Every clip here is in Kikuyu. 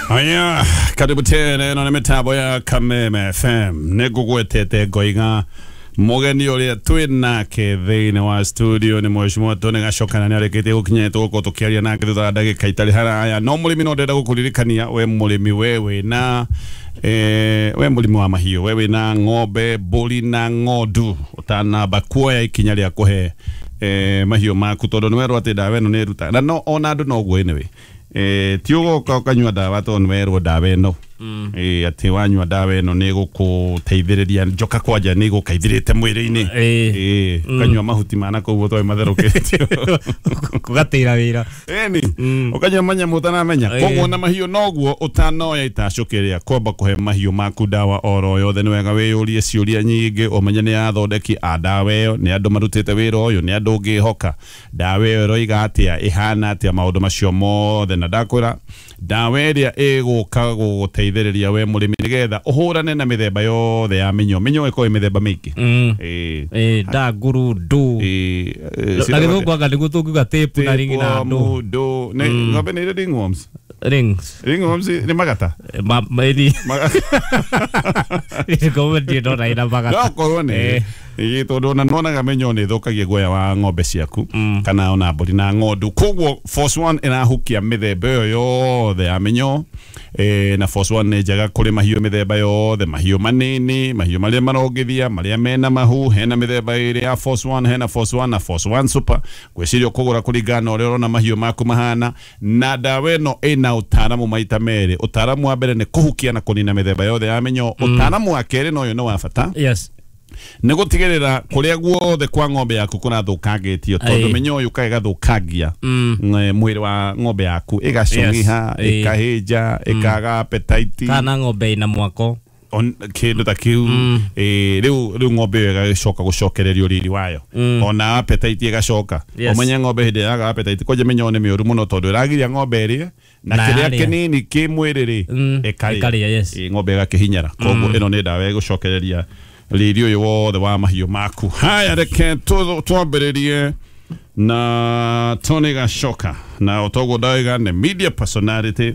Haya, karibu tena ĩno nĩ mĩtambo ya Kameme FM. Nĩ ngũgwetete ngoiga mũgeni ũrĩa twĩ nake thĩinĩ wa studio nĩ Mheshimiwa Tony Gachoka, na nĩ arĩkĩtie gũkinya, tũgũkorwo tũkĩaria nake thutha wa ndagĩka itarĩ haraya. No mũrĩmi, no ndĩrenda gũkũririkania we mũrĩmi, we wĩna we mũrĩmi wa mahiũ, we wĩna ng'ombe, mbũri na ng'ondu, ũtanamba kuoya ikinya rĩa kũhe mahiũ maku, tondũ nĩ werwo atĩ ndawa ĩno nĩ ĩrutaga na no ona andũ noguo. Anyway, ti ũgoka ũkanyua ndawa tondũ nĩ werwo ndawa ĩno atĩ wanyua ndawa ĩno nĩ ĩgũkũteithĩrĩria njoka kwanja nĩ ĩgũkaithĩrĩte mwĩrĩ-inĩ. Ũkanyua mahuti ma na kũu ũtoĩ matherũkĩtio. Kũgatĩra wĩra. Ĩni ũkanyua manyamũ ũtaramenya. Koguo na mahiũ noguo, ũtanoya itacũkĩ rĩa kwamba kũhe mahiũ maku ndawa oro yothe, nĩ wega wĩyũrie ciũria nyingĩ, ũmenye nĩ athondeki a ndawa ĩyo nĩ andũ marutĩte wĩra ũyũ, nĩ andũ ũngĩhoka, ndawa ĩyo ĩroiga atĩa, ĩhana atĩa, maũndũ macio mothe. Na ndakwĩra ndawa ĩrĩa ĩgũka gũgũteithĩrĩria we mũrĩmi nĩgetha ũhũrane na mĩthemba yothe ya mĩnyoo. Mĩnyoo ĩkoragwo ĩ mĩthemba mĩingĩ. Ndanguru ndu. Na gĩthũngũ anga nĩguo tũngiuga tape na ring na ndũ. Tapeworm, ndũ nĩ ng'ombe nĩ irĩ ringworms. Rings. Ringworms nĩ magata. Ĩni ngombe ndirĩ ndona ĩna magata. No korwo nĩ ĩ, tondũ ona nwonaga mĩnyoo nĩ ĩthũkagia guoya wa ng'ombe ciaku kana ona mbũri na ng'ondu. Koguo Force One ĩrahukia mĩthemba ĩyo yothe ya mĩnyoo. Na Force One nĩ njega kũrĩ mahiũ mĩthemba yothe, mahiũ manini, mahiũ marĩa marongithia, marĩa mena mahu. Hena mĩthemba ĩrĩ ya Force One, hena Force One na Force One Super. Ngwĩciria ũkũgũra kũringana na ũrĩa ũrona mahiũ maku mahana. Na ndawa ĩno ĩna ũtaaramu maita merĩ. Ũtaaramu wa mbere nĩ kũhukia na kũnina mĩthemba yothe ya mĩnyoo. Ũtaaramu wa kerĩ, na ũyũ nĩ wa bata, nĩ gũtigĩrĩra kũrĩa guothe kwa ng'ombe yaku kũrathũkangĩtio, tondũ mĩnyoo yũkaga ĩgathũkangia mwĩrĩ wa ng'ombe yaku, ĩgacũng'iha, ĩkahĩnja, ĩkaga appetite. Kana ng'ombe ĩna mwako. Kĩndũ ta kĩu. Rĩu ng'ombe ĩyo ĩgacoka gũcokererio riri wayo, ona appetite ĩgacoka. Ũmenye ng'ombe hĩndĩ yaga appetite kwanja mĩnyoo nĩ mĩũru mũno, tondũ ĩragiria ng'ombe ĩrĩe na Na kĩrĩa yarĩa. kĩnini kĩ mwĩrĩ rĩ, ĩkarĩa. Ĩkarĩa, yes. Ng'ombe ĩgakĩhinyara. Koguo ĩno nĩ ndawa ĩgũcokereria riri ũyũ wothe wa mahiũ maku. Haya, reke twambĩrĩrie na Tony Gachoka. Na otoguo ndauga, nĩ media personality,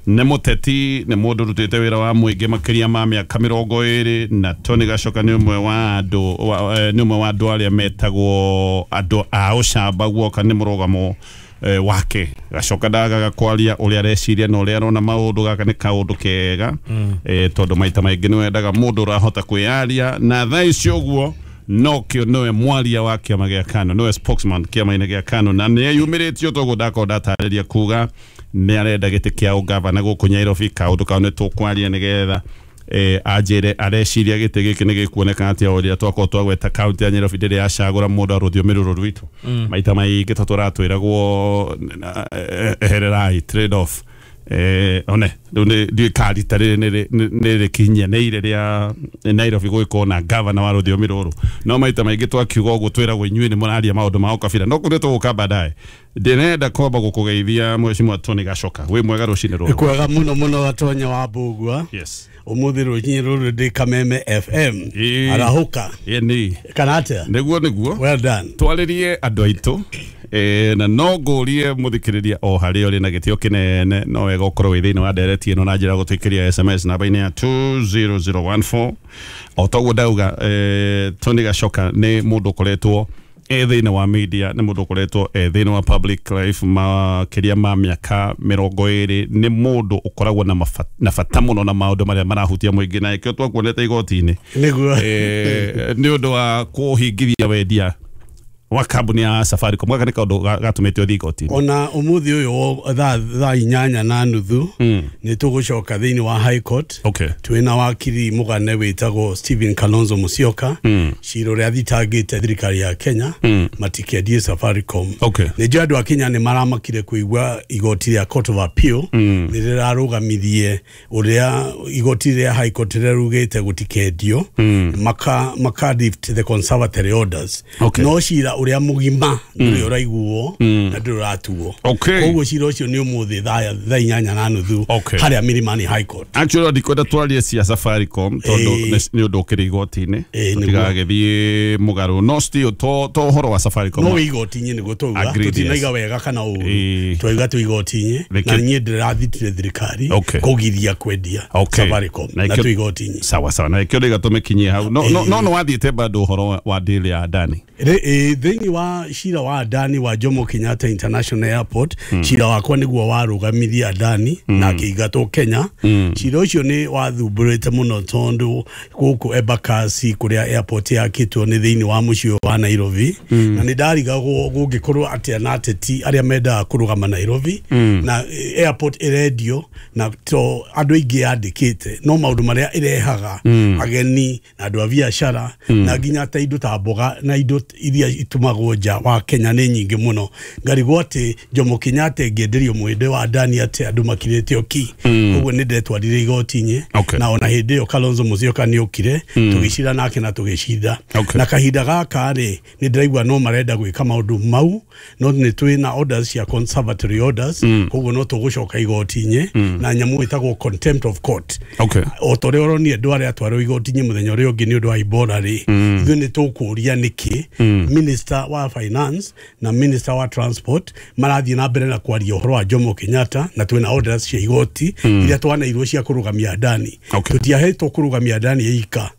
nĩ mũteti, nĩ mũndũ ũrutĩte wĩra wa mũingĩ makĩria ma mĩaka 20. Na Tony Gachoka nĩ ũmwe wa andũ nĩ ũmwe wa andũ arĩa metagwo andũ a ũcamba guoka nĩ mũrũgamo wake. Gacoka ndagaga kwaria ũrĩa areciria na ũrĩa arona maũndũ. Gaka nĩ kaũndũ kega, tondũ maita maingĩ nĩ wendaga mũndũ ũrahota kwĩyaria. Na thaa ici ũguo nokĩo nĩwe mwaria wa kĩama gĩa KANU, nĩwe spokesman kĩama-inĩ gĩa KANU, na nĩ eyumĩrĩtio toguo ndakorwo ndatarĩria kuga nĩ arenda gĩtĩ kĩa ũgavana gũkũ Nyairobi. Kaũndũ kau nĩ tũkwaria nĩgetha anjĩre areciria gĩtĩ gĩkĩ nĩ gĩkuoneka atĩa, ũrĩa twakorwo twagweta kaunti ya Nyairobi ndĩrĩ yacagũra mũndũ wa rũthiomi rũrũ rwitũ. Maita maingĩ to tũratwĩragwo ehererai trade off. One rĩu nĩ ndiũĩ ka rita rĩrĩ nĩ rĩkinyanĩire rĩa Nairobi gũgĩkorwo na gavana wa rũthiomi rũrũ. No maita maingĩ twakiuga ũguo twĩragwo inyuĩ nĩ mũraria maũndũ ma ũkabira. No kũrĩa tũgũka baadaye, ndĩrenda kwamba gũkũgeithia, Mheshimiwa Tony Gachoka. Wĩ mwega rũcinĩ rũrũ? Kwega muno muno, Gatonya wa Mbugua. Umuthi rũcinĩ rũrũ ndĩ Kameme FM. Arahũka. Ĩni. Kana atĩa? Nĩguo. Well done. Twarĩrie andũ aitũ. Na no ngũrie mũthikĩrĩria o harĩa ũrĩ na gĩtĩo kĩnene, no wega ũkorwo wĩ thĩinĩ wa ndereti ĩno na njĩra ya gũtũikĩria SMS namba-inĩ ya 20014. O toguo ndauga, Tony Gachoka nĩ mũndũ ũkoretwo e thĩinĩ wa media, nĩ mũndũ ũkoretwo e thĩinĩ wa public life makĩria ma mĩaka 20. Nĩ mũndũ ũkoragwo na bata mũno na maũndũ marĩa marahutia mũingĩ, na ĩkĩo twakuonete igoti-inĩ. Nĩguo. Nĩ ũndũ wa kũhingithia wendia wa kambuni ya Safaricom. Gaka nĩ kaũndũ gatũmĩte ũthiĩ igoti-inĩ. Ona umuthi ũyũ thaa 8:30 nĩ tũgũcoka thĩinĩ wa High Court. Twĩna wakiri mũgane wĩtagwo Stephen Kalonzo Musyoka, cira ũrĩa athitangĩte thirikari ya Kenya matikendie Safaricom. Nĩ njũĩ andũ a Kenya nĩ maramakire kũigua igoti rĩa Court of Appeal nĩ rĩrarũgamithie ũrĩa igoti rĩa High Court rĩrugĩte gũtikendio, maka lift the conservatory orders. No cira uria mugima nduri uraiguo na nduri uratuo. Koguo cira ucio ni umuthi thaa 8:30 haria Milimani High Court. Actually ndikwenda twarie cia Safaricom tondu ni undu ukiri igoti-ini tutigagithie mugaru no still to uhoro wa Safaricom no igoti-ini niguo twauga tutinaiga wega kana uru twauga tu igoti-ini na niĩ ndĩrathitire thirikari kugiria kwendia Safaricom na tu igoti-ini. Sawa sawa na ikio ndiga tumikinyie hau no no no wathiĩte bado uhoro wa deal ya Adani thĩinĩ wa cira wa Adani wa Jomo Kenyatta International Airport. Cira wakwa nĩguo warũgamirie Adani na akĩingatwo Kenya. Cira ũcio nĩ wathumbũrĩte mũno tondũ gũkũ Embakasi kũrĩa airport yakĩtwo nĩ thĩinĩ wa mũciĩ wa Nairobi na nĩ ndarigagwo gũngĩkorwo atĩa na ateti arĩa mendaga kũrũgama Nairobi na airport ĩrendio na to andũ aingĩ yandĩkĩte no maũndũ marĩa ĩrehaga ageni na andũ a biacara na nginya ta indo ta mboga na indo iria itumagwo nja wa Kenya nĩ nyingĩ mũno. Ngarigwo atĩ Jomo Kenyatta ĩngĩenderio mwende wa Adani atĩ andũ makirĩte oki koguo nĩ ndetwarire igoti-inĩ na ona hĩndĩ ĩyo Kalonzo Musyoka nĩ okire tũgĩcira nake na tũgĩcinda. Na kahinda gaka rĩ nĩ ndĩraigua no marenda gwĩka maũndũ mau no nĩ twĩ na orders cia conservatory orders koguo no tũgũcoka igoti-inĩ na nyamũ ĩtagwo contempt of court. O ta ũrĩa ũronire andũ arĩa atwarwo igoti-inĩ mũthenya ũrĩa ũngĩ nĩ ũndũ wa Ebola rĩ ithuĩ nĩ tũkũria nĩkĩ Minister wa Finance na Minister wa Transport marathiĩ na mbere na kwaria ũhoro wa Jomo Kenyatta na twĩna orders cia igoti iria twanairwo cia kũrũgamia Adani. Tũtiahetwo kũrũgamia Adani ĩika.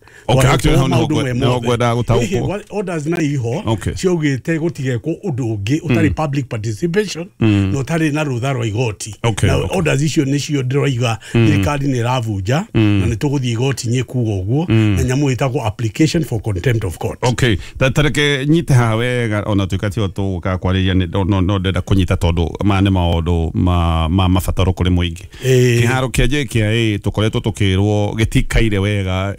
Orders na iho ciaugĩte gũtigekwo ũndũ ũngĩ ũtarĩ public participation na ũtarĩ na rũtha rwa igoti. Na orders icio nĩcio ndĩroiga thirikari nĩ ĩravunja na nĩ tũgũthiĩ igoti-inĩ kuga ũguo na nyamũ ĩtagwo application for contempt of court. Okay, tareke nyite haha wega ona tuĩka tio tũgũka kwarĩria no ndĩrenda kũnyita tondũ maya nĩ maũndũ ma mabataro kũrĩ mũingĩ. Kĩharo kĩa JKIA tũkoretwo tũkĩrwo gĩtikaire wega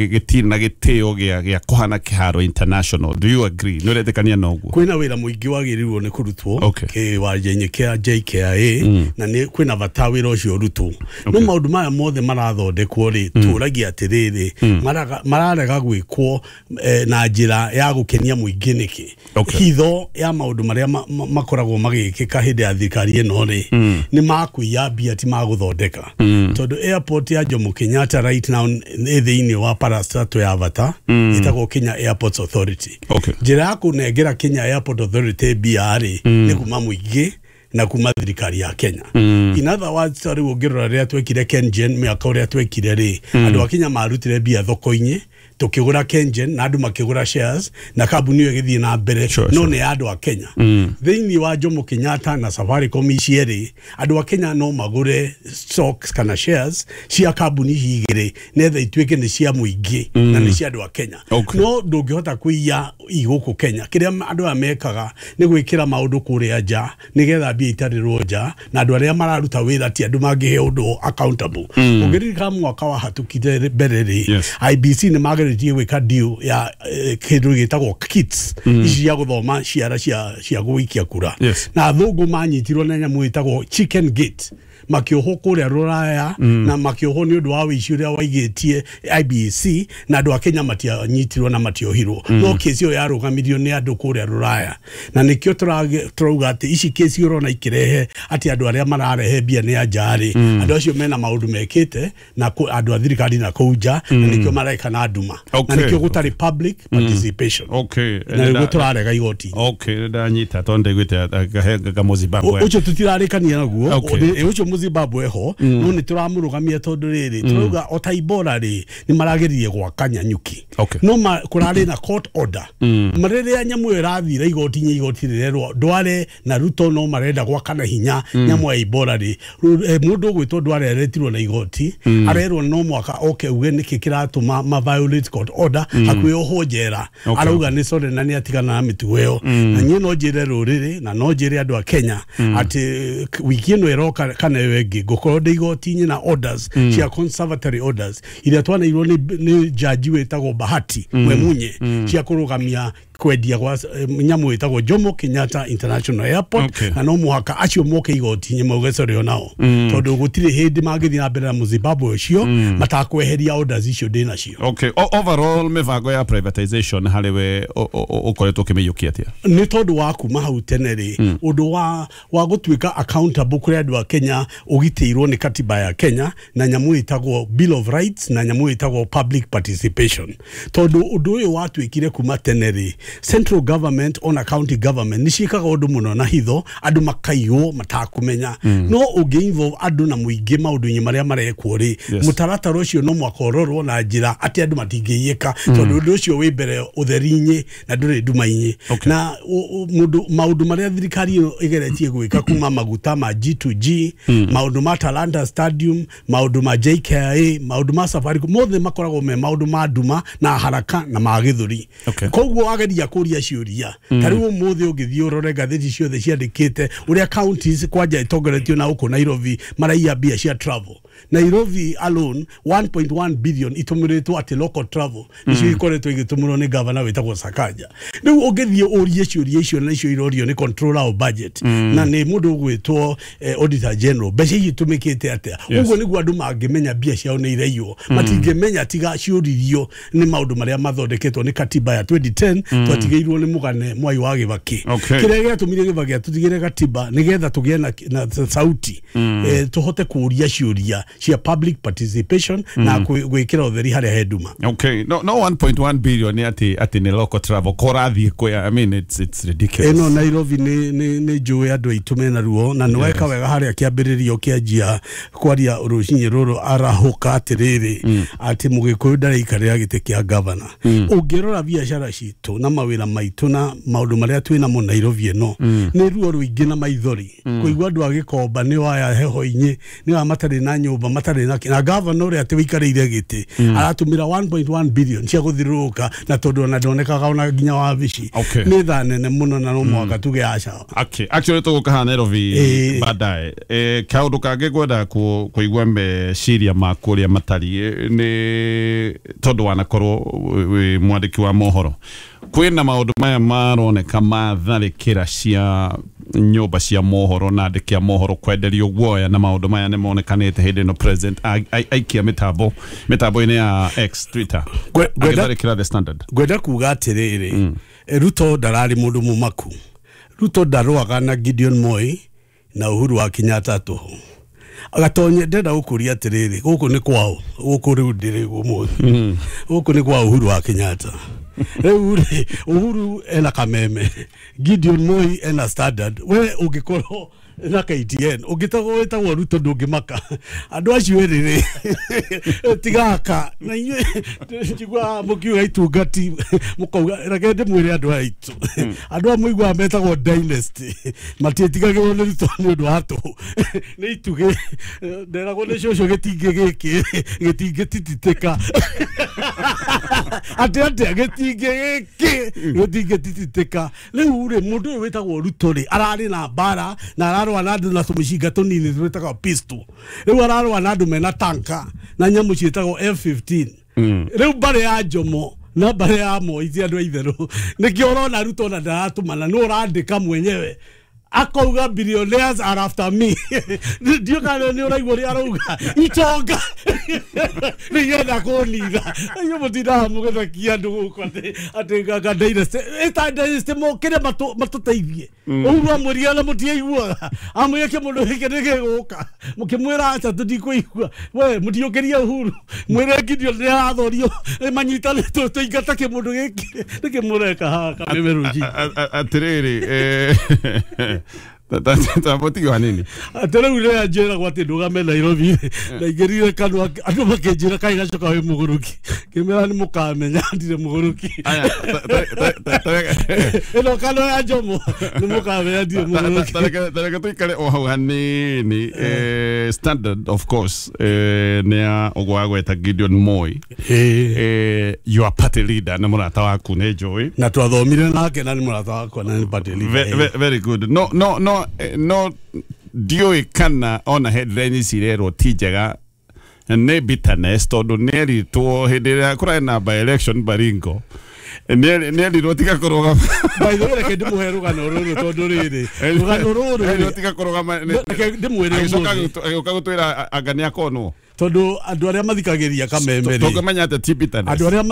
gĩtirĩ na gĩtĩo gĩa kũhana kĩharo international. Do you agree? Nĩ ũretĩkania na ũguo? Kwĩna wĩra mũingĩ wagĩrĩirwo nĩ kũrutwo kĩwanja-inĩ kĩa JKIA na nĩ kwĩna bata wĩra ũcio ũrutwo. No maũndũ maya mothe marathondekwo rĩ tũragia atĩrĩrĩ mararega gwĩkwo na njĩra ya gũkenia mũingĩ nĩkĩ? Hitho ya maũndũ marĩa makoragwo magĩkĩka hĩndĩ ya thirikari ĩno rĩ nĩ makũiya mbia ti magũthondeka. Tondũ airport ya Jomo Kenyatta right now nĩ thĩinĩ wa parastato ya bata ĩtagwo Kenya Airports Authority. Njĩra ya kũnengera Kenya Airport Authority mbia rĩ nĩ kuma mũingĩ na kuma thirikari ya Kenya. In other words, rĩu ũngĩrora rĩrĩa twekire KenGen mĩaka ũrĩa twekire rĩ andũ a Kenya marutire mbia thoko-inĩ tukigura KenGen na andũ makĩgũra shares na kambuni ĩyo ĩgĩthiĩ na mbere no nĩ ya andũ a Kenya. Thĩinĩ wa Jomo Kenyatta na Safaricom ici erĩ andũ a Kenya no magũre stocks kana shares cia kambuni ici igĩrĩ netha ituĩke nĩ cia mũingĩ na nĩ cia andũ a Kenya. No ndũngĩhota kũiya igũkũ Kenya. Kĩrĩa andũ aya mekaga nĩ gwĩkĩra maũndũ kũrĩa nja nĩgetha mbia itarĩrwo nja na andũ arĩa mararuta wĩra ti andũ mangĩhe ũndũ accountable. Ũngĩririkana mwaka wa hatukire mbere rĩ IBC nĩ mageretie gwĩka deal ya kĩndũ gĩtagwo kits ici cia gũthoma ciara cia gũikia kura na athũngũ manyitirwo na nyamũ ĩtagwo chicken gate makĩohwo kũrĩa rũraya na makĩohwo nĩ ũndũ wa wĩici ũrĩa waigĩtie IBC na andũ a Kenya matianyitirwo na matiohirwo no kesi ĩyo yarũgamirio nĩ andũ kũrĩa rũraya na nĩkĩo tũrauga atĩ ici kesi ũrona ikĩrehe atĩ andũ arĩa mararehe mbia nĩ anja rĩ andũ acio mena maũndũ mekĩte na andũ a thirikari na kũu nja na nĩkĩo mareka na nduma na nĩkĩo gũtarĩ public participation na nĩguo tũrarega igoti. Ndanyita tondũ ndaiguĩte Gamuzimbabwe ũcio tũtirarĩkania naguo ũcio Zimbabwe ho no nĩ tũramũrũgamia tondũ rĩrĩ tũrauga o ta Ebola rĩ nĩ marageririe gwaka Nyanyuki no kũrarĩ na court order rĩrĩa nyamũ ĩyo ĩrathire igoti-inĩ igoti rĩrerwo Ndwale na Ruto no marenda gwaka na hinya nyamũ ya Ebola rĩ mũndũ ũgwĩtwo Ndwale aretirwo na igoti arerwo no mwaka oke uge nĩkĩ kĩratũma ma violate court order hakuhĩ ohwo njera arauga nĩ sorry na nĩ atigana na mĩtugo ĩyo na niĩ no njĩre rũrĩrĩ na no njĩre andũ a Kenya atĩ wiki ĩno ĩroka kana ĩyo ĩngĩ ngũkorwo ndĩ igoti-inĩ na orders cia conservatory orders iria twanairwo nĩ jaji wĩtagwo Bahati Mwemunye cia kũrũgamia kwendia gwa nyamũ ĩtagwo Jomo Kenyatta International Airport. Na no mũhaka acio moke igoti-inĩ mauge sorry onao, tondũ gũtirĩ hĩndĩ mangĩthiĩ na mbere na Mũzimbabwe ũcio matakweheria orders icio ndĩ nacio. Okay, overall mĩbango ya privatization harĩ we ũkoretwo ũkĩmĩiyũkia atĩa? Nĩ tondũ wa kuma hau tene rĩ, ũndũ wa gũtuĩka accountable kũrĩ andũ a Kenya ũgitĩirwo nĩ katiba ya Kenya na nyamũ ĩtagwo Bill of Rights na nyamũ ĩtagwo public participation. Tondũ ũndũ ũyũ watuĩkire kuma tene rĩ, central government ona county government nĩ ciĩkaga ũndũ mũno na hitho, andũ makaiywo matakũmenya. No ũngĩ involve andũ na mũingĩ maũndũ-inĩ marĩa marekwo rĩ, mũtaratara ũcio no mũhaka ũrorwo na njĩra atĩ andũ matingĩiyĩka, tondũ ũndũ ũcio wĩ mbere ũtheri-inĩ na ndũrĩ nduma-inĩ. Na maũndũ marĩa thirikari ĩno ĩgeretie gwĩka kuma maguta ma G2G, maũndũ ma Talanta Stadium, maũndũ ma JKIA, maũndũ ma Safaricom, mothe makoragwo me maũndũ ma nduma na haraka na ma gĩthũri. Koguo wageria kũria ciũria ta rĩu ũmũthĩ ũngĩthiĩ ũrore ngathĩti ciothe ciandĩkĩte ũrĩa counties kwanja itongoretio na gũkũ Nairobi maraiya mbia cia travel. Nairobi alone 1.1 billion itũmĩrĩtwo atĩ local travel nicio ikoretwo igĩtũmĩrwo nĩ governor wĩtagwo Sakaja. Rĩu ũngĩthiĩ ũrie ciũria icio na icio irorio nĩ controller of budget na nĩ mũndũ ũgwĩtwo auditor general, mbeca ici itũmĩkĩte atĩa? Ũguo nĩguo andũ mangĩmenya mbia ciao nĩ iraiywo. Matingĩmenya tiga ciũririo nĩ maũndũ marĩa mathondeketwo nĩ katiba ya 2010 twatigĩirwo nĩ mũgane Mwai wa Kibaki. Kĩrĩa gĩatũmire Kibaki atũtigĩre katiba nĩgetha tũgĩe na sauti, tũhote kũũria ciũria cia public participation na gwĩkĩra ũtheri harĩa he nduma. Okay, no 1.1 billion ni ati ni local travel korathi kwa, I mean it's ridiculous. Eno Nairobi ni njũĩ andũ aitũ mena ruo na nĩ weka wega harĩa kĩambĩrĩrio kĩanjia kwaria rũcinĩ rũrũ arahũka atĩrĩrĩ atĩ Mũgĩkũyũ ndareikarĩra gĩtĩ kĩa governor. Ũngĩrora biacara citũ na mawĩra maitũ na maũndũ marĩa twĩ namo Nairobi ĩno nĩ ruo rũingĩ na maithori kũigua andũ a Gĩkomba nĩ waya heho-inĩ nĩ wa matarĩ na nyũmba matarĩ na governor ũrĩa atĩ wĩikarĩire gĩtĩ aratũmĩra 1.1 billion cia gũthiũrũrũka na tondũ ona ndonekaga ona nginya wabici. Nĩ thaa nene mũno na no mũhaka tuge aca. Okay, actually tũgũka haha Nairobi baadaye. Kaũndũ kangĩ ngwenda kũigua meciria maku ũrĩa matariĩ nĩ tondũ wanakorwo wĩ mwandĩki wa mohoro, kwĩna maũndũ maya maroneka matharĩkĩra cia nyũmba cia mohoro na andĩki a mohoro kwenderio guoya, na maũndũ maya nĩ monekanĩte hĩndĩ ĩno president aikia mĩtambo-inĩ ya X Twitter agĩtharĩkĩra The Standard. Ngwenda kuga atĩrĩrĩ, Ruto ndararĩ mũndũ mũmaku. Ruto ndarũaga na Gideon Moi na Uhuru wa Kenyatta tũhũ. Agatonye ndenda gũkũria atĩrĩrĩ, gũkũ nĩ kwao, gũkũ rĩu ndĩrĩ ũmũthĩ, gũkũ nĩ kwa Uhuru wa Kenyatta. Rĩu rĩ, Uhuru ena Kameme, Gideon Moi ena Standard, we ũngĩkorwo na KTN ũngĩtagwo wĩtagwo Ruto ndũngĩmaka. Andũ acio erĩ rĩ tigaka na inyuĩ njiguaga mũkiuga itungati mũkauga, reke ndĩmwĩre andũ aya aitũ, andũ aya mũiguaga metagwo dynasty matiĩtigagĩrwo nĩ Ruto nĩ ũndũ wa tũhũ, nĩ itugĩ. Nderagwo nĩ cũcũ gĩtingĩ gĩkĩ gĩtingĩtititĩka atĩ atĩa gĩtingĩ gĩkĩ gĩtingĩtititĩka. Rĩu rĩ, mũndũ ũyũ wĩtagwo Ruto rĩ ararĩ na mbara na ararũa na andũ na tũmĩcinga tũnini twĩtagwo pistol. Rĩu ararũa na andũ mena tanka na nyamũ ciĩtagwo F15. Rĩu mbarĩ ya Jomo na mbarĩ ya Moi ti andũ a itherũ, nĩkĩo ũrona Ruto ona ndaratũmana, nĩ ũrandĩka mwenyewe akauga billionaires are after me. Ndio kana nĩ ũraigua ũrĩa arauga itonga nĩgetha kũnitha. Inyuĩ mũtindaga mũgĩthekia andũ gũkũ atĩ nganga dynasty ĩta dynasty mokĩre matũteithie. Uhuru amwĩrire na mũtiaiguaga, amwĩrire kĩmũndũ gĩkĩ nĩ gĩgũka, mũkĩmwĩra aca tũtikũigua. We mũtiũkĩrie Uhuru, mwĩre Gideon nĩ arathorio manyitane tũingate kĩmũndũ gĩkĩ. Nĩkĩ mũreka haha Kameme rũcinĩ? Atĩrĩrĩ, Tambotigo hanini. Atĩ rĩu rĩrĩa njĩragwo atĩ ndũgame Nairobi, ndaingĩrire kanua andũ makĩnjĩra kaĩ gacoka wĩ mũgũrũki, ngĩmera nĩ mũkamenya ndirĩ mũgũrũki. Ĩno kanua ya Jomo nĩ mũkamenya ndirĩ mũgũrũki. Tareke tũikare o hau hanini. Standard of course nĩ ya ũguo wagweta Gideon Moi, your party leader na mũrata waku nĩ njũĩ na twathomire nake na nĩ mũrata wakwa na nĩ party leader. Very good. No no no no ndiũĩ kana ona headline ici irerwo ti njega nĩ bitterness tondũ nĩ eritwo hĩndĩ ĩrĩa kũrarĩ na by election Baringo Nĩerirwo tiga kũrũgama. By the way, reke ndĩmũhe rũgano rũrũ tondũ rĩrĩ rũgano rũrũ Erirwo tiga kũrũgama. Reke ndĩmwĩre ũmũthĩ. Agĩũka gũtwĩra anga nĩakonwo. Tondũ andũ arĩa mathikagĩrĩria Kameme rĩ, Tũngĩmenya atĩ ti bitterness. Andũ arĩa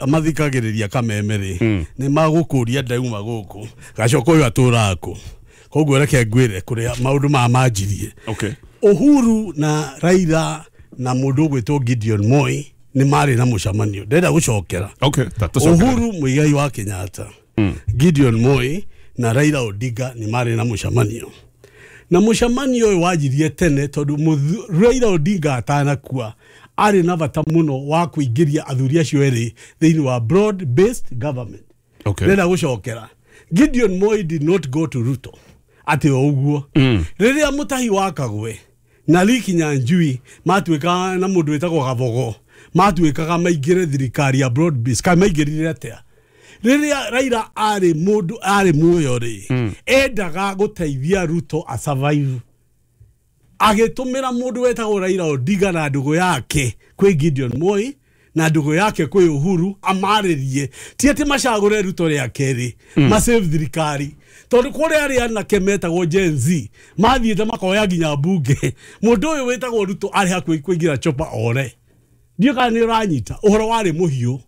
mathikagĩrĩria Kameme rĩ, nĩ magũkũria ndauma gũkũ gacoka ũyũ atũraga kũ. Koguo reke ngwĩre kũrĩa maũndũ maya manjirie. Okay. Uhuru na Raila na mũndũ ũgwĩtwo Gideon Moi nĩ marĩ na mũcemanio. Ndĩrenda gũcokera. Okay, ta tũcokere. Uhuru Muigai wa Kenyatta, Gideon Moi na Raila Odinga nĩ marĩ na mũcemanio. Na mũcemanio ũyũ wanjirie tene tondũ Raila Odinga atanakua arĩ na bata mũno wa kũingĩria athuri acio erĩ thĩinĩ wa broad based government. Okay. Ndĩrenda gũcokera. Gideon Moi did not go to Ruto atĩ o ũguo. Rĩrĩa Mutahi wa Kagwe na Lee Kinyanjui matuĩkaga na mũndũ wĩtagwo Gabogo matuĩkaga maingĩre thirikari ya broad based, kana maingĩrire atĩa? Rĩrĩa Raila arĩ mũndũ arĩ muoyo rĩ, endaga gũteithia Ruto a survive. Agĩtũmĩra mũndũ wetagwo Raila Odinga na ndũgũ yake kwĩ Gideon Moi na ndũgũ yake kwĩ Uhuru amarĩrie, ti atĩ macagũre Ruto rĩa kerĩ, masave thirikari. Tondũ kũrĩa arĩa anake metagwo Gen Z mathiĩte makoya nginya mbunge, mũndũ ũyũ wĩtagwo Ruto arĩ hakuhĩ kũingĩra chopa ore. Ndiũ kana nĩ ũranyita ũhoro warĩ mũhiũ.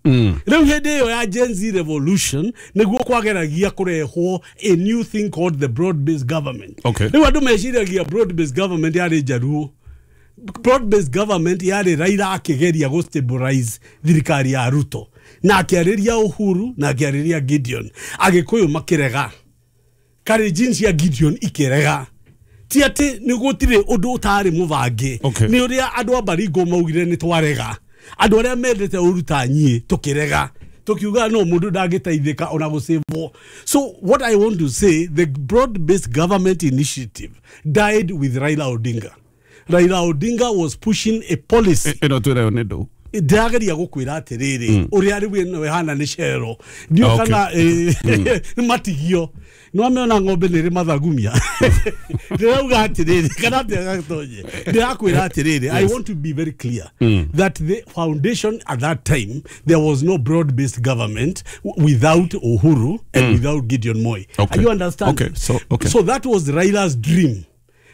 Rĩu hĩndĩ ĩyo ya Gen Z revolution nĩguo kwageragia kũrehwo a new thing called the broad based government. Okay. Rĩu andũ meciragia broad based government yarĩ Njaruo. Broad based government yarĩ Raila akĩgeria gũ stabilize thirikari ya Ruto na akĩarĩria Uhuru na akĩarĩria Gideon. Agĩkũyũ makĩrega, Kalenjin cia Gideon ikĩrega. Ti atĩ nĩ gũtirĩ ũndũ ũtarĩ mũbange. Okay. Nĩ ũrĩa andũ a Baringo maugire nĩ twarega, andũ arĩa mendete ũru ta niĩ tũkĩrega, tũkiuga no mũndũ ndangĩteithĩka ona gũcĩvwo. So what I want to say, the broad based government initiative died with Raila Odinga. Raila Odinga was pushing a policy. Ĩno twĩrayo nĩ ndũ. Ndĩrageria gũkwĩra atĩrĩrĩ, ũrĩa rĩu ĩno ĩhana nĩ cero. Ndiũ kana nĩ matigio. Nĩ wamĩona ng'ombe nĩ ĩrĩ mathagumia. Ndĩrauga atĩrĩrĩ, kana atĩa gatonye. Ndĩrakwĩra atĩrĩrĩ, I want to be very clear that the foundation at that time, there was no broad-based government without Uhuru and without Gideon Moi. Okay. Are you understanding? Okay. So, okay. So that was Raila's dream.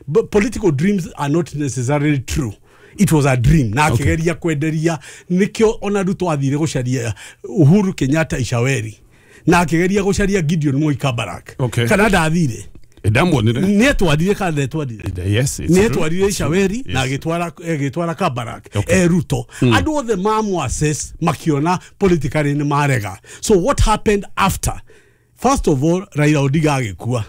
But political dreams are not necessarily true. It was a dream. Na akĩgeria kwenderia nĩkĩo ona Ruto athire gũcaria Uhuru Kenyatta Ishaweri. Na akĩgeria gũcaria Gideon Moi Kabarak. Okay. Kana ndathire. Ndamuonire. Nĩetwarire kana ndetwarire? Yes, it's true. Nĩetwarire Ishaweri Yes. na agĩtwara Kabarak. Okay. Ruto. Andũ othe mamũ assess makiona politically nĩ marega. So what happened after? First of all, Raila Odinga agĩkua.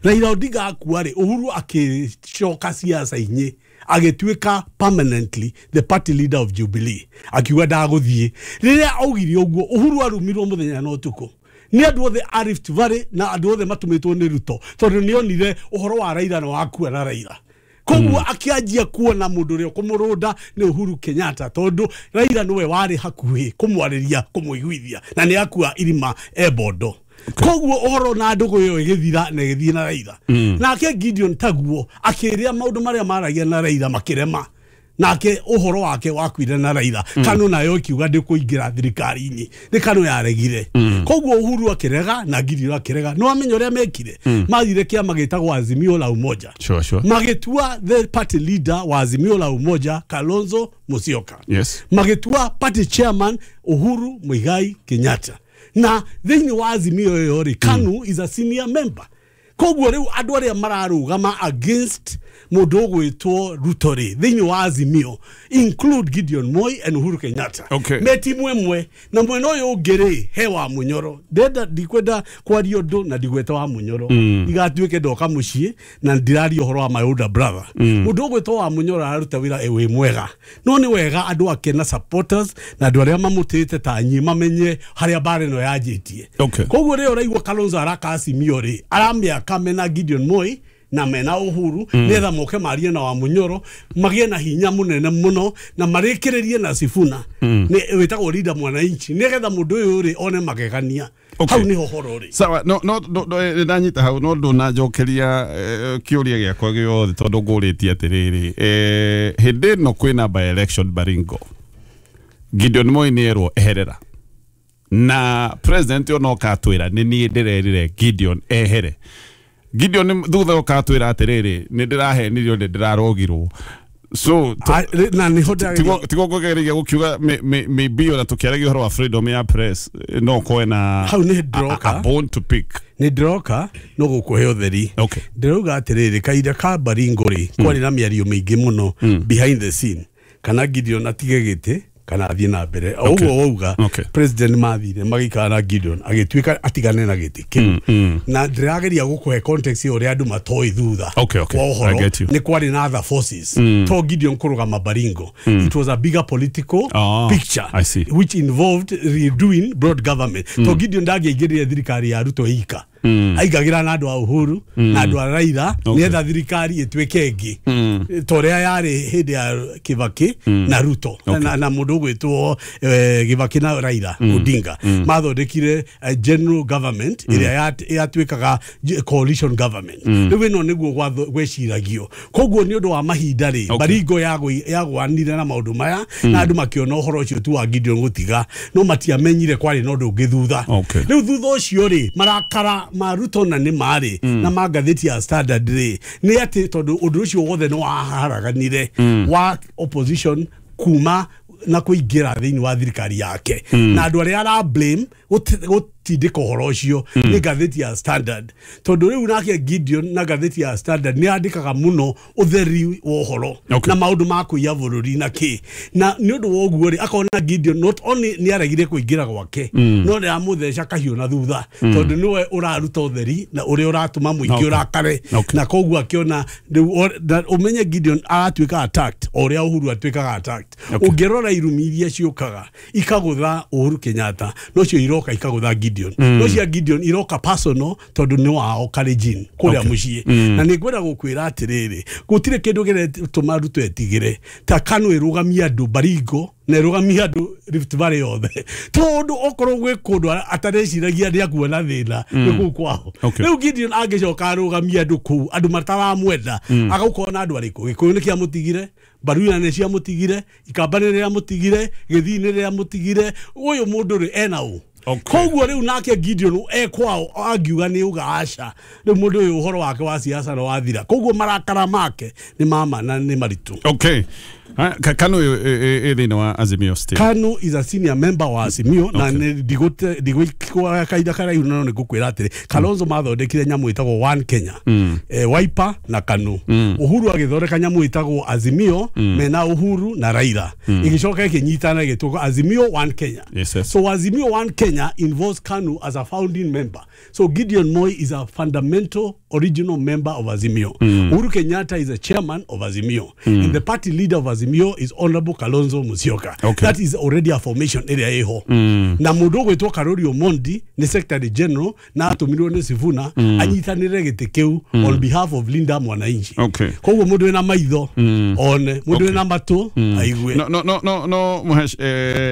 Raila Odinga akua rĩ, Uhuru akĩcoka siasa-inĩ agĩtuĩka permanently the party leader of Jubilee. Akiuga ndagũthiĩ. Rĩrĩa augire ũguo, Uhuru arumirwo mũthenya na ũtukũ. Nĩ andũ othe a Rift Valley na andũ othe matũmĩtwo nĩ Ruto, tondũ nĩonire ũhoro wa Raila na wakua na Raila. Koguo akĩanjia kuona mũndũ ũrĩa ũkũmũrũnda nĩ Uhuru Kenyatta, tondũ Raila nĩwe warĩ hakuhĩ kũmwarĩria, kũmũiguithia, na nĩ akua irima e Bondo. Koguo ũhoro na ndũgũ ĩyo ĩgĩthira na ĩgĩthiĩ na Raila. Nake Gideon taguo akĩrĩa maũndũ marĩa maragia na Raila makĩrema. Nake ũhoro wake wakuire na Raila. Kanu nayo ĩkiuga ndĩkũingĩra thirikari-inĩ. Nĩ Kanu yaregire. Koguo Uhuru akĩrega na Gideon akĩrega. Nĩ wamenya ũrĩa mekire? Mathire kĩama gĩtagwo Azimio la Umoja. Sure, sure. Magĩtua the party leader wa Azimio la Umoja Kalonzo Musyoka. Yes. Magĩtua party chairman Uhuru Muigai Kenyatta. Na thĩinĩ wa Azimio ĩyo rĩ, Kanu is a senior member. Koguo rĩu andũ arĩa mararũgama against mũndũ ũgwĩtwo Ruto rĩ, thĩinĩ wa Azimio include Gideon Moi and Uhuru Kenyatta. Okay. Me timu ĩmwe na mwena ũyũ ũngĩ rĩ, he wa Munyoro. Ndenda ndikwenda kwaria ũndũ na ndigweta wa Munyoro. Igatuĩke ndoka mũciĩ na ndiraria ũhoro wa my older brother. Mũndũ ũgwĩtwo wa Munyoro araruta wĩra wĩ mwega. No nĩ wega andũ ake na supporters na andũ arĩa mamũtĩĩte ta niĩ mamenye harĩa mbara ĩno yanjĩtie. Okay. Koguo rĩrĩa ũraigua Kalonzo araka Azimio rĩ, aramĩaka mena Gideon Moi na mena Uhuru nĩgetha moke marie na wa Munyoro magĩe na hinya mũnene mũno na marĩkĩrĩrie na Sifuna nĩ wĩtagwo leader mwananchi nĩgetha mũndũ ũyũ rĩ one magegania. Okay. Hau nĩho horo rĩ. Sawa, no no ndanyita hau no ndũnanjokeria kĩũria gĩakwa gĩothe tondũ ngũrĩtie atĩrĩrĩ, hĩndĩ ĩno kwĩna by election Baringo, Gideon Moi nĩerwo eherera Na president yo no katwira ni nie ndirerire Gideon ehere. Gideon thutha ukatwira atiriri ni ndirahenirio ni ndirarogirwo. So na ni hoda tigo kugeria gukiuga maybe ona tukiaragia uhoro wa freedom ya press no koe na hau ni ndroka a bone to pick ni ndroka no gukuhe utheri. Okay. Ndirauga atiriri kaida ka Baringo ri kwari na miario mingi muno behind the scene kana Gideon atige giti kana athie na mbere uguo wauga. President mathire magikara na Gideon agituika atigane na giti kiu na ndirageria gukuhe context uria andu matoi thutha. Okay. Wa uhoro ni kwari na other forces to Gideon kurugama Baringo. It was a bigger political picture. I see. Which involved redoing broad government. To Gideon ndangĩaingĩrire thirikari ya Ruto ika aigagira na andu a Uhuru na andu a Raila nietha thirikari ituike ĩngĩ ta ũrĩa yarĩ hĩndĩ ya Kibaki na Ruto. Na mũndũ ũgwĩtwo Kibaki na Raila Odinga mathondekire general government ĩrĩa yatuĩkaga coalition government. Rĩu ĩno nĩguo gweciragio. Koguo nĩ ũndũ wa mahinda rĩ Baringo yagwanire na maũndũ maya na andũ makĩona ũhoro ũcio tu wa Gideon gũtiga no matiamenyire kwarĩ na ũndũ ũngĩ thutha. Rĩu thutha ũcio rĩ marakara ma Ruto na nĩ marĩ na ma ngathĩti ya Standard rĩ nĩ atĩ tondũ ũndũ ũcio wothe nĩ waharaganire wa opposition kuma na kuingira thĩinĩ wa thirikari yake na andũ arĩa ara blame gũtindĩka ũhoro ũcio nĩ ngathĩti ya Standard tondũ rĩu nake Gideon na ngathĩti ya Standard nĩ andĩkaga mũno ũtheri wa ũhoro na maũndũ ma kũiya bũrũri na kĩ na nĩ ũndũ wa ũguo rĩ akona Gideon not only nĩ aregire kũingĩra gwake no nĩ aramũtheca kahiũ na thutha tondũ nĩwe ũraruta ũtheri na ũrĩa ũratũma mũingĩ ũrakare na koguo akĩona rĩu ũmenye Gideon aratuĩka attacked o ũrĩa Uhuru atuĩkaga attacked. Ũngĩrora irumi iria ciũkaga ikagũtha Uhuru Kenyatta nocio iroka ikagũtha Gideon no cia Gideon iroka personal tondu ni wao Kalenjin kuria muciĩ na nĩ ngwenda gũkwĩra atĩrĩrĩ gũtirĩ kĩndũ kĩretũma Ruto etigĩre ta KANU ĩrũgamia andũ Baringo na ĩrũgamia andũ Rift Valley yothe tondu okorwo gwĩ kũndũ atareciragia nĩ akuona thĩna nĩ kũu kwao. Rĩu Gideon angĩcoka arũgamia andũ kũu andũ mataramwenda agũkorwo na andũ arĩkũ Gĩkũyũ nĩ kĩamũtigire Baruya nĩ ciamũtigire Ikamba nĩ rĩamũtigire Gĩthii nĩ rĩamũtigire ũyũ mũndũ rĩ ena ũ. Koguo rĩu nake Gideon e kwao angiuga nĩ uga aca rĩu mũndũ ũyũ ũhoro wake wa siasa no wathira koguo marakara make nĩ mama na nĩ maritũ. Okay. KANU ĩ thĩinĩ wa Azimio still. KANU is a senior member wa Azimio na ndigũikwa kahinda karaihu no nĩ ngũkwĩra atĩrĩ Kalonzo mathondekire nyamũ ĩtagwo One Kenya Wiper na KANU. Uhuru agĩthondeka nyamũ ĩtagwo Azimio mena Uhuru na Raila ĩgĩcoka ĩkĩnyitana ĩgĩtwo Azimio One Kenya. Yes, yes. So Azimio One Kenya involves KANU as a founding member. So Gideon Moi is a fundamental original member of Azimio. Uhuru Kenyatta is a chairman of Azimio. And the party leader of Azimio is Honorable Kalonzo Musyoka. Okay. That is already a formation area eho. Na mundu gwitwo Karori Omondi ni secretary general na atumirwo ni Sifuna anyitanire giti kiu on behalf of Linda Mwananchi. Okay. Koguo mundu wina maitho one mundu wina matu aigue. No Muhesh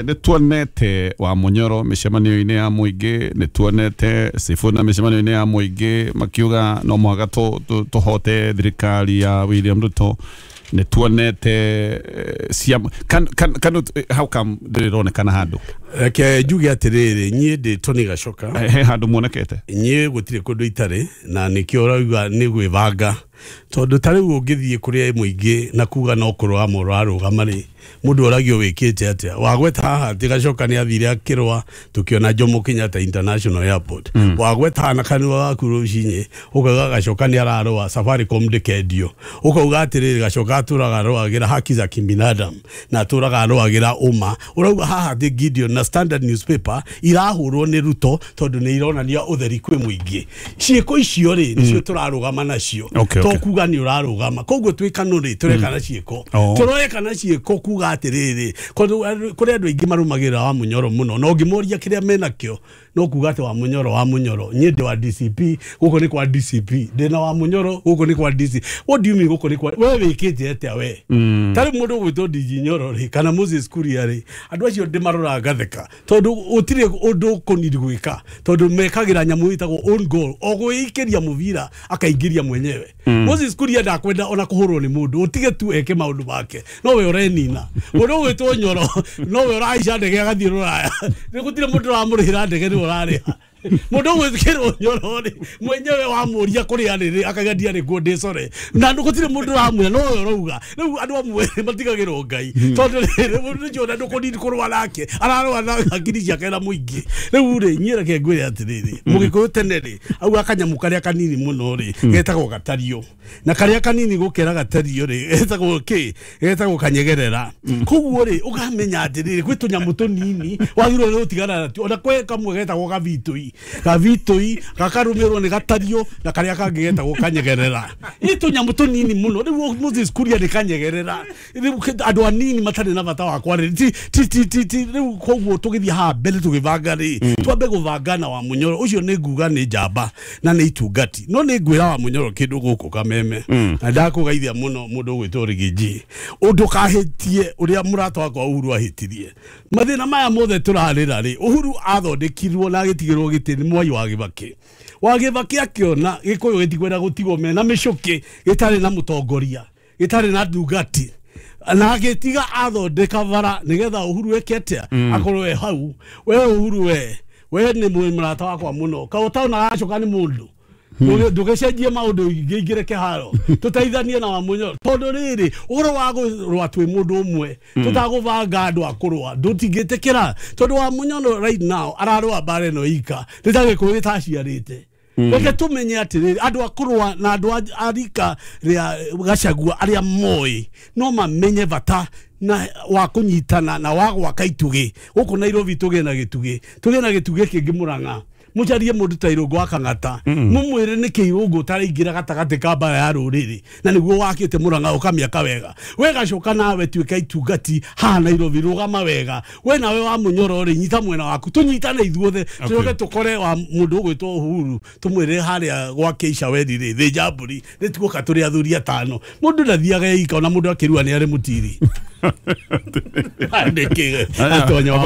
nĩ tuonete wa Munyoro mĩcemanio-inĩ ya mũingĩ nĩ tuonete Sifuna mĩcemanio-inĩ ya mũingĩ makiuga no mũhaka tũhote thirikari ya William Ruto nĩ tuonete KANU how come ndĩronekana handũ Reke njuge atĩrĩrĩ niĩ ndĩ Tony Gachoka he handũ muonekete niĩ gũtirĩ kũndũ itarĩ na nĩkĩo ũrauga nĩ gwĩbanga tondũ ta rĩu ũngĩthiĩ kũrĩa mũingĩ na kuga no kũrũgama ũrarũgama rĩ mũndũ oragio wĩkĩte atĩa wagweta haha atĩ Gachoka nĩ athire akĩrũa tũkĩona Jomo Kenyatta International Airport wagweta na kanua gaku rũcinĩ ũkauga Gachoka nĩ ararũa Safaricom ndĩkendio ũkauga atĩrĩrĩ Gachoka atũraga arũagĩra haki za kibinadamu na atũraga arũagĩra ũma ũrauga haha atĩ Gideon na Standard newspaper irahũrwo nĩ Ruto tondũ nĩ ironania ũtheri kwĩ mũingĩ ciĩko icio rĩ nĩcio tũrarũgama nacio to kuga nĩ ũrarũgama koguo twĩ KANU rĩ tũreka na ciĩko tũreka na ciĩko kuga atĩrĩrĩ kũrĩ andũ aingĩ marũmagĩrĩra wa Munyoro mũno na ũngĩmoria kĩrĩa menakĩo No kuga atĩ wa Munyoro niĩ ndĩ wa DCP, gũkũ nĩ kwa DCP, ndĩna wa Munyoro gũkũ nĩ kwa DC. What do you mean gũkũ nĩ kwa we wĩkĩte atĩa we? Tarĩ mũndũ ũgwĩtwo DG Nyoro rĩ kana Moses Kuria rĩ, andũ acio ndĩmarora ngatheka tondũ gũtirĩ ũndũ ũkũniri gwĩka, tondũ mekagĩra nyamũ ĩtagwo own goal, o gwĩikĩria mũbira akaingĩria mwenyewe. Moses Kuria ndakwenda ona kũhũrwo nĩ mũndũ, ũtige tu eke maũndũ make, no we ũrenina. Mũndũ ũgwĩtwo Nyoro no we ũrahaica ndege agathiĩ rũraya, nĩ gũtirĩ mũndũ ũramũrĩhĩra ndege, nĩwe ũrarĩha. Mũndũ ũgwĩkĩrwo Nyoro rĩ mwenyewe wamũria kũrĩa rĩ akauga ndiarĩ kuo ndĩcore, na gũtirĩ mũndũ ũramwĩra, no we ũrauga. Rĩu andũ amwe matigagĩrwo Ngai, tondũ rĩrĩ mũndũ ũcio ona ndũkũnini kũrũa nake, ararũa na hakiri ciake na mũingĩ. Rĩu rĩ niĩ reke ngwĩre atĩrĩrĩ, mũgĩkũyũ tene rĩ auga kanyamũ karĩa kanini mũno rĩ getagwo gatario, na karĩa kanini gũkĩra gatario rĩ getagwo kĩ? Getagwo kanyegerera. Koguo rĩ ũkamenya atĩrĩrĩ gwĩ tũnyamũ tũnini wagĩrĩirwo nĩ gũtigana natuo, ona kwĩ kamwe getagwo gabitũi, gabitũi gakarũmĩrwo nĩ gatario, na karĩa kangĩ getagwo kanyegerera. Nĩ tũnyamũ tũnini mũno. Rĩu Moses Kuria nĩ kanyegerera, rĩu andũ anini matarĩ na bata wa kwarĩria ti. Rĩu koguo tũgĩthiĩ haha mbere tũgĩbanga rĩ, twambe gũbanga na wa Munyoro ũcio nĩ nguga nĩ njamba na nĩ itungati, no nĩ ngwĩra wa Munyoro kĩndũ gũkũ Kameme, na ndakũgeithia mũno mũndũ ũgwĩtwo Rigiji, ũndũ kahĩtie ũrĩa mũrata wakwa Uhuru ahĩtirie. Mathĩna maya mothe tũrarĩra rĩ, Uhuru athondekirwo na agĩtigĩrwo gĩtĩ nĩ Mwai wa Kibaki. Wa Kibaki akĩona Gĩkũyũ gĩtikwenda gũtigwo mena mĩcũkĩ, gĩtarĩ na mũtongoria, gĩtarĩ na ndungati, na agĩtiga athondeka bara nĩgetha Uhuru eke atĩa, akorwo e hau. We Uhuru we nĩ mũrata wakwa mũno, ka ũtaona gacoka nĩ mũndũ ndũgĩcenjie maũndũ ingĩingĩre kĩharo, tũteithanie na wa Munyoro, tondũ rĩrĩ ũhoro wa kũrũa twĩ mũndũ ũmwe tũtagũbanga andũ a kũrũa ndũtingĩtĩkĩra, tondũ wa Munyoro right now ararũa mbara ĩno ika nĩ ta Gĩkũyũ gĩtaciarĩte. Reke tũmenye atĩrĩrĩ, andũ a kũrũa na andũ a rika rĩa Gachagua arĩa moĩ no mamenye bata na wa kũnyitana na wa gwaka itugĩ gũkũ Nairobi. Tũgĩe na gĩtugĩ, tũgĩe na gĩtugĩ kĩngĩ Mũrang'a, mũcarie mũndũ ta Irũngũ wa Kang'ata, mũmwĩre nĩkĩ Irũngũ ũtaraingĩra gatagatĩ ka mbara ya rũrĩrĩ, na nĩguo wakĩte Mũrang'a ũkamĩaka wega. We gacoka nawe tuĩka itungati haha Nairobi, rũgama wega. We nawe wa Munyoro rĩ, nyita mwena waku, tũnyitane ithuothe, tũcoke tũkore wa mũndũ ũgwĩtwo Uhuru, tũmwĩre harĩa gwake Icaweri rĩ, thĩnja mbũri, nĩ tuoka tũrĩ athuri atano. Mũndũ ndathiaga ika, ona mũndũ akĩrua nĩ arĩ mũtiri.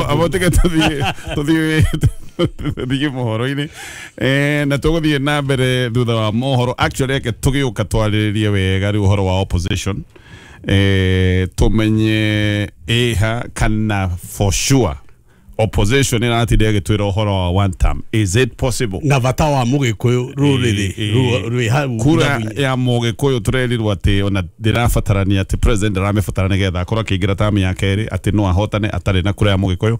Abo tũthiĩ tũthiĩ mohoro-inĩ, na tũgũthiĩ na mbere thutha wa mohoro. Actually reke tũgĩũka twarĩrĩrie wega rĩu ũhoro wa opposition, tũmenye ĩha kana for sure opposition ĩratinda ĩgĩtwĩra ũhoro wa one term, is it possible? Na bata wa mũgĩkũyũ rũrĩrĩ rwĩ hau kura ya mũgĩkũyũ tũrerirwo atĩ ona ndĩrabatarania atĩ president ndaramĩbatara nĩgetha akorwo akĩingĩra tamu ya kerĩ, atĩ no ahotane atarĩ na kura ya mũgĩkũyũ.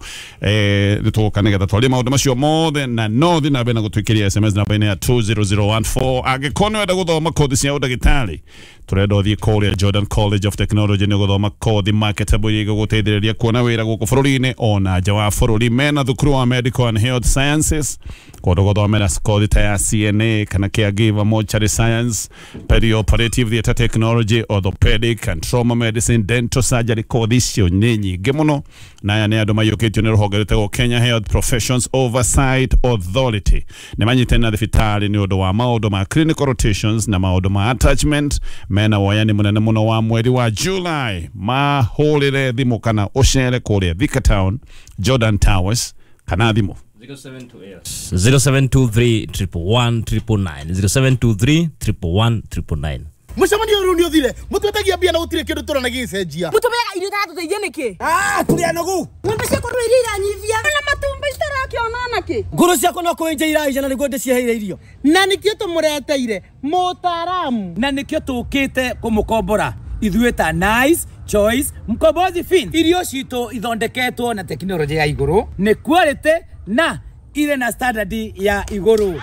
Nĩ tũgũka nĩgetha twarie maũndũ macio mothe, na no thiĩ na mbere na gũtwĩkĩria SMS namba-inĩ ya 20014. Angĩkorwo nĩ wenda gũthoma kothi cia ũndagĩtarĩ, tũrenda ũthiĩ kũrĩa Jordan College of Technology nĩ gũthoma kothi marketable iria igũgũteithĩrĩria kuona wĩra gũkũ bũrũri-inĩ ona nja wa bũrũri. Mena thukuru wa Medical and Health Sciences, kũndũ gũthomera kothi ta ya CNA kana caregiver, mortuary science, perioperative theatre technology, orthopedic and trauma medicine, dental surgery. Kothi icio nĩ nyingĩ mũno, na aya nĩ andũ maiyũkĩtio nĩ rũhonge rwĩtagwo Kenya Health Professions Oversight Authority. Nĩ manyitene na thibitarĩ nĩ ũndũ wa maũndũ ma clinical rotations na maũndũ ma attachment. Mena woyani mũnene mũno wa mweri wa July. Mahũrĩre thimũ kana ũcere kũrĩa Thika Town, Jordan Towers, kana thimũ 0723 111 999, 0723 111 999. Mucemanio riu ni uthire mutwetagia mbia na gutire kindu turona gicenjia mutumeaga irio iratũteithia nĩkĩ? Tũrĩ anogu. Ng'ombe ciakwa rĩu iria iranyivia na matumbĩ citarakĩona nakĩ. Ngũrũ ciakwa no kũenja iraija na nĩguo ndĩciheire irio. Na nĩkĩo tũmũreteire mũtaaramu, na nĩkĩo tũkĩte kũmũkombora ithuĩ ta Nice Choice Mkombozi Fin. Irio citũ ithondeketwo na tekinoronjĩ ya igũrũ, nĩ quality na irĩ na standard ya igũrũ.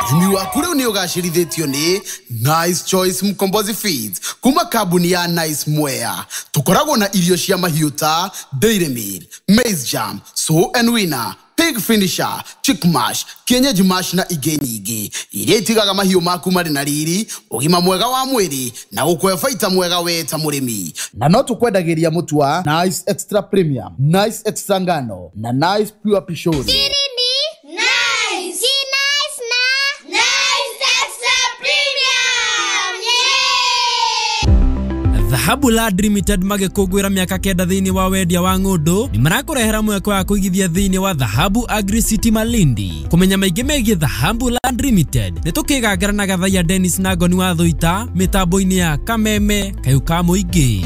Ũrĩmi waku rĩu nĩ ũgacĩrithĩtio nĩ Nice Choice Mkombozi Feeds kuma kambuni ya Nice Mwea. Tũkoragwo na irio cia mahiũ ta Dairy Meal, Maize Jam, Sow and Winner, Pig Finisher, Chick Mash, Kienyeji Mash na ingĩ nyingĩ iria itigaga mahiũ maku marĩ na riri, ũgima mwega wa mwĩrĩ na gũkũhe baita mwega we ta mũrĩmi. Na no tũkwendagĩria mũtu wa Nice Extra Premium, Nice Extra Ngano na Nice Pure Pishori. Siri ni Dhahabu Land Limited magĩkũngũĩra mĩaka 9 thĩinĩ wa wendia wa ng'ũndũ nĩ marakũrehera mweke wa kũigithia thĩinĩ wa Dhahabu Agri City Malindi. Kũmenya maingĩ megiĩ Dhahabu Land Limited nĩ tũkĩgangara na Gathaiya Dennis na Ngoni wa Thũita mĩtambo-inĩ ya Kameme Kayũ ka Mũingĩ.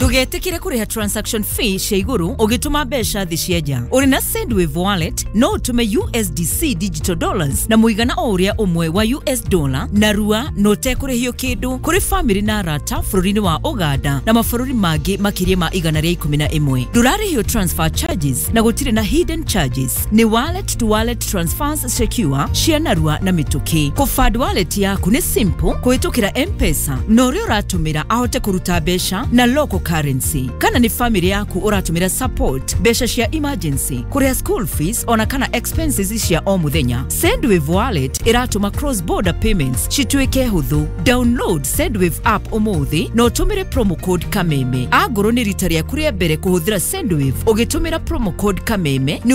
Ndũgetĩkĩre kũrĩha transaction fee cia igũrũ ũgĩtũma mbeca thĩ cia nja. Ũrĩ na Sendwave wallet no ũtũme USDC digital dollars na mũigana o ũrĩa ũmwe wa US dollar na rua na ũtekũrĩhio kĩndũ kũrĩ famĩlĩ na arata bũrũri-inĩ wa Uganda na mabũrũri mangĩ makĩria ma 111. Ndũrarĩhio transfer charges na gũtirĩ na hidden charges. Nĩ wallet to wallet transfers secure cia narua na mĩtũkĩ. Kũfund wallet yaku nĩ simple kũhĩtũkĩra M-Pesa na ũrĩa ũratũmĩra ahote kũruta mbeca na local currency. Kana nĩ family yaku ũratũmĩra support mbeca cia emergency, kũrĩha school fees ona kana expenses cia o mũthenya. Sendwave wallet ĩratũma cross border payments cituĩke hũthũ. Download Sendwave app ũmũthĩ na ũtũmĩre promo code Kameme. Angorwo nĩ rita rĩaku rĩa mbere kũhũthĩra Sendwave ũgĩtũmĩra promo code Kameme nĩ